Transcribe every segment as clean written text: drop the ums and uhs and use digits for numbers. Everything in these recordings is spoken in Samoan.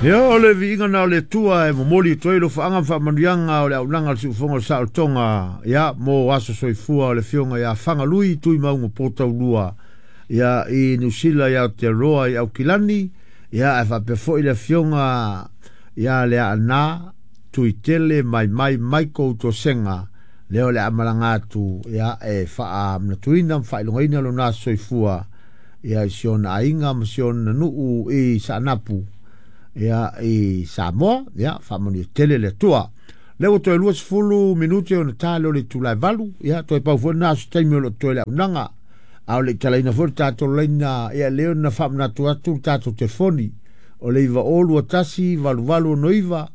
Ia, o le viiga na o le Atua e momoli atu ai alofaaga ma faamanuiaga o le auaunaga a le Siufofoga o le Saolotoga, ia, mo aso soifua o le Afioga ia Fagalui Tuimauga Potaulua, ia, i Niu Sila i Aotearoa i Aukilani, ia, ae faapea foi le Afioga ia Leaana Tuitele Maimai Michael Tosega, lea o le a malaga atu, ia, e faamanatuina ma faailogaina lona aso soifua, ia, i si ona aiga ma si ona nuu i Saanapu, ia, i Samoa, ia, faamanuia tele le Atua. Lea ua toe 20 minute ona ta lea o le itula e 8, ia, toe pau foi lena o se taimi o lo o totoe le auaunaga. A o le i talaina foi le tatou laina, ia, lea ona faamanatu atu le tatou telefoni, o le 9021 8869,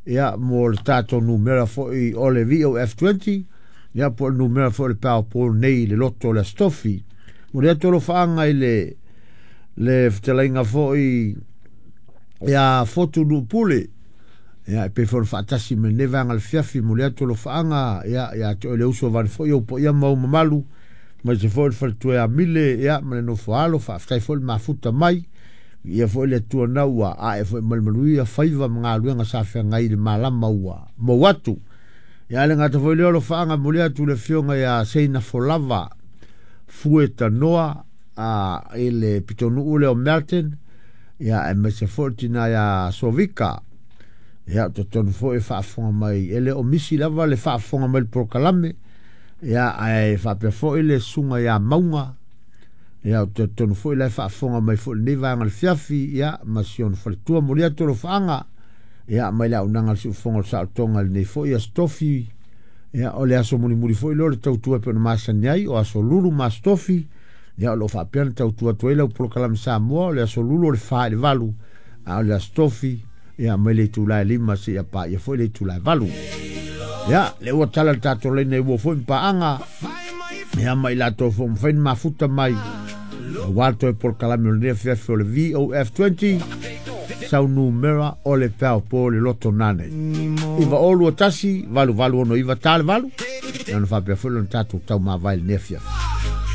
ia, mo le tatou numera foi o le VOF20, ia, po o le numera foi o le PowerPoint nei i le loto o le Aso Tofi. Momoli atu alofaaga i le fetalaiga foi ia Fotu Nuupule, ia, e pei foi ona faatasi mai lenei vaega o le fiafi. Momoli atu alofaaga, ia, ia te oe le uso vane foi ou paia ma ou mamalu, aemaise foi le faletua ia Mile, ia, ma le nofo alo. Faafetai foi le mafuta mai, ia foi le Atua na ua ae foi ma le manuia faiva ma galuega sa feagai i le malama ua mou atu. Ia, le gata foi lea o alofaaga, momoli atu le afioga ia Seina Folava Fue Tanoa i le pitonuu lea o Melton, ia, aemaise foi le tina ia Sovika, ia, totonu foi e faafofoga mai, e le o misi lava le faafofoga mai le polokalame, ia, ae faapea foi le susuga ia Mauga, ia, totonu foi la e faafofoga mai foi lenei vaega o le fiafi, ia, ma si ona faletua. Momoli atu alofaaga, ia, mai le auaunaga a le Siufofoga o le Saolotoga i lenei foi Aso Tofi, ia, o le aso mulimuli foi lea o le tautua e pei ona masani ai, o aso Lulu ma Aso Tofi, ia, o lo o faapea ona tautua atu ai lau polokalame Samoa, o le aso Lulu o le 4 i le 8, a o le Aso Tofi, ia, mai le itula e 5 seia paia foi le itula e 8. Ia, le ua tala le tatou laina i ua foi ma paaga, ia, ma i latou foi mafai ona mafuta mai, aua le toe polokalame o lenei afiafi o le VOF20, sau numera o le pao po le loto nane. 9021 8869 ta le 8, ia ona faapea foi lona tatou taumavae i lenei afiafi.